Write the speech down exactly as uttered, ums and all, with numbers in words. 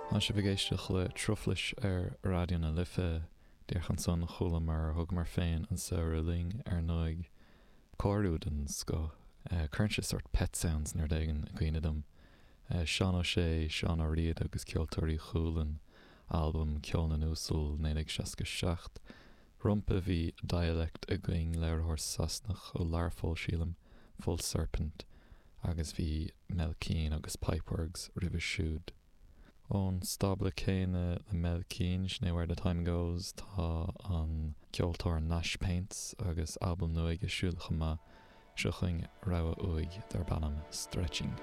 Tá sibh ag éisteacht le Truflais ar Raidió na Life díreach ansan chualamar thugamar féin an samhradh linn ar ndóigh cóiriú den scoth. Cuireann sé sort Pet Sounds nó rud éigin i gcuimhne dom. Seán Ó Sé, Seán Ó Riada agus Ceoltóirí Chualann, albam Ceol na nUasal naoi déag seasca seacht. Rompu bhí Dialect againn léiritheoir Sasanach ó Learpholl sílim, Full Serpent, agus bhí Mel Keane agus Pipeworks roimhe siúd. Ón stábla céanna le Mel Keane sin é Where the Time Goes tá an ceoltóir Nash Paints agus albam nua aige siúd chomh maith seo chugainn rogha uaidh darb ainm Stretching.